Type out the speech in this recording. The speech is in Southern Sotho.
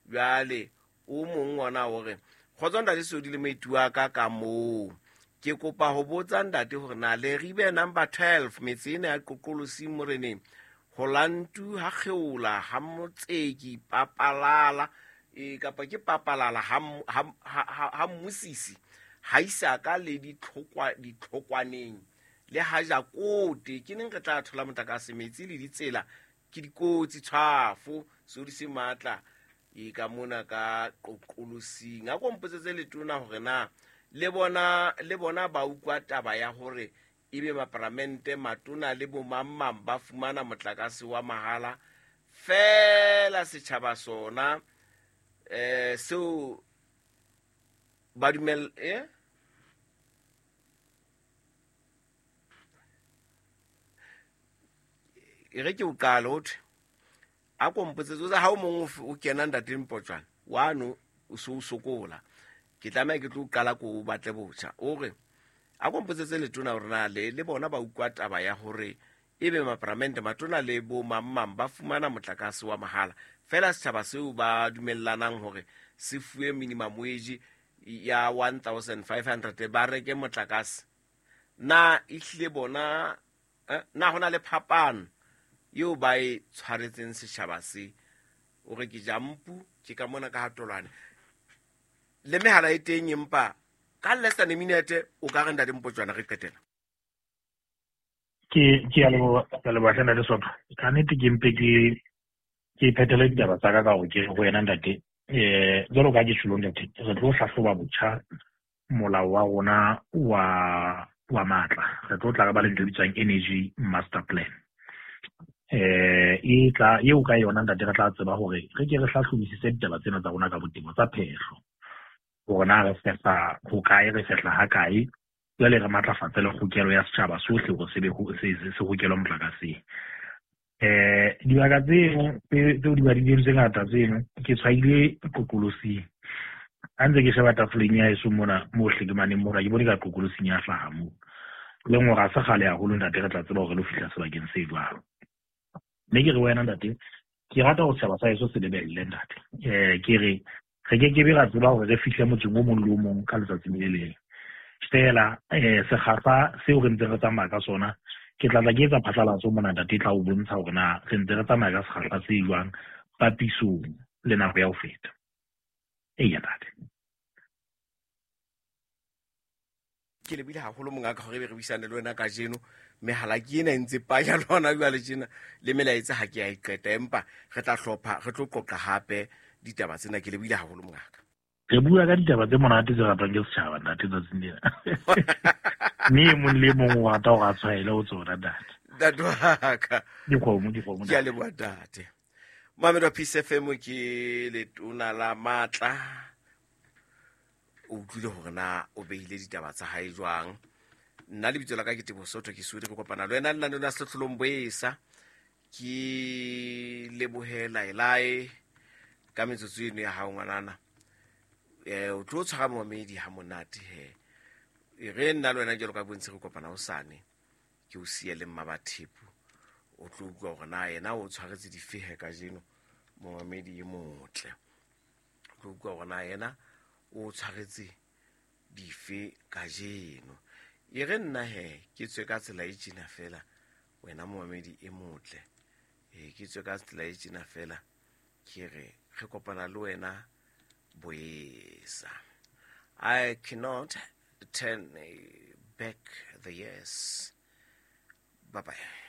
Jwale o mong ona o re, kgotso ntate Sodi le moeti wa ka ka moo. Ke kopa ho botsa ntate hore na Leribe number 12 metse ena ya Qoqolosing moreneng Holantu ha Kgeola ha Motseki Papalala e kapa ke Papalala ha Mmusisi ha Isaka le ditlhokwaneng le ha Jakote ke neng re tla thola motlakase metsi le ditsela ke dikotsi tshwafo sodi se matla e ka mona ka Qoqolosing. A ko mpotsetse letona hore na le bona ba utlwa taba ya hore ebe maparamente matona le bomangmang ba fumana motlakase wa mahala fela setjhaba sona seo ba dumel e re ke o qale ho thwe a ko mpotsetse o tsa ha o mong o kena ntate Mpotjwana wano o se o sokola ke tlameha ke tlo qala ko o batle botjha. O re a ko mpotsetse letona hore na le bona ba utlwa taba ya hore ebe maparamente matona le bo mang ba fumana motlakase wa mahala fela setjhaba seo ba dumellanang hore se fuwe minimum wage ya 1500 ba reke motlakase. Na ehlile bona na hona le phapano eo ba e tshwaretseng setjhaba se? O re ke jampu ke ka mona ka hatolwane le mehala e teng, empa ka less than a minute o ka re ntate Mpotjwana re qetela. Ke a leboha ntate Sotho. Ka nnete ke mpe ke phethele ditaba tsa ka ka hore ke ho wena ntate. Jwalo ka ke tjholo ntate, re tlo hlahloba botjha molao wa rona wa matla. Re tlo tla ba le ntho e bitswang Energy Master Plan. E tla eo ka yona ntate re tla tseba hore re ke re hlahlobisise ditaba tsena tsa rona ka botebo tsa phehlo. Hore na re fehla ho kae, re fehla ha kae, jwale re matlafatse le kgokelo ya setjhaba sohle hore se be se hokelwa motlakaseng. Dibaka tseno tseo di badileng tse ngata tseno ke tshwaile Qoqolosing. Ha ntse ke sheba tafoleng ya heso mona mo hlekemane mona ke bone ka Qoqolosing ya hlaha moo. Le ngwe ha se kgale haholo ntate re tla tseba hore re lo fihla sebakeng se jwalo. Mme ke re wena ntate, ke rata hore setjhaba sa heso se lebelle ntate. Ke re re ke ke be ra tseba hore re fihle motseng o mong le o mong ka letsatsi le leng. Fela sekgahla seo re ntse re tsamaya ka sona, ke tla tla ke etsa phatlalatso mona ntate, e tla o bontsha hore na re ntse re tsamaya ka sekgahla se jwang papisong le nako ya ho feta. Eya ntate. Ke lebile haholo mongaka hore be re buisane le wena kajeno. Mehala ke ena e ntse panya le hona jwale tjena, le melaetsa ha ke a e qeta, empa re tla hlopha, re tlo qoqa hape ditaba tsena. Ke lebile haholo mongaka. Re bua ka ditaba tse monate tse ratwang ke setjhaba ntate tsatsing lena. Mme e mong le e mong o rata hore a tshwaele ho tsona ntate. Ntate wa ka. Dikgomo, Ke a leboha ntate. Mohamed wa Peace FM ke letona la matla. O utlwile hore na o behile ditaba tsa hae jwang. Nna lebitso la ka ke Teboho Sotho, ke Sodi, re kopana le wena lenaneo la Sehlohlolong Boesa. Ke lebohe Laelae ka metsotso eno ya hao ngwanana. O tlo tshwara momedi ha monate he. E re nna le wena jwalo ka bontsi re kopana hosane, ke o siye le Mmabathepu. O tlo utlwa hore na yena o tshwaretse difehe kajeno, momamedi e motle. O tlo utlwa hore na yena o tshwaretse dife kajeno. E re nna he ke tswe ka tsela e tjena fela, wena momamedi e motle. Ke tswe ka tsela e tjena fela, ke re re kopana le wena boesa. I cannot turn back the years. Bye bye.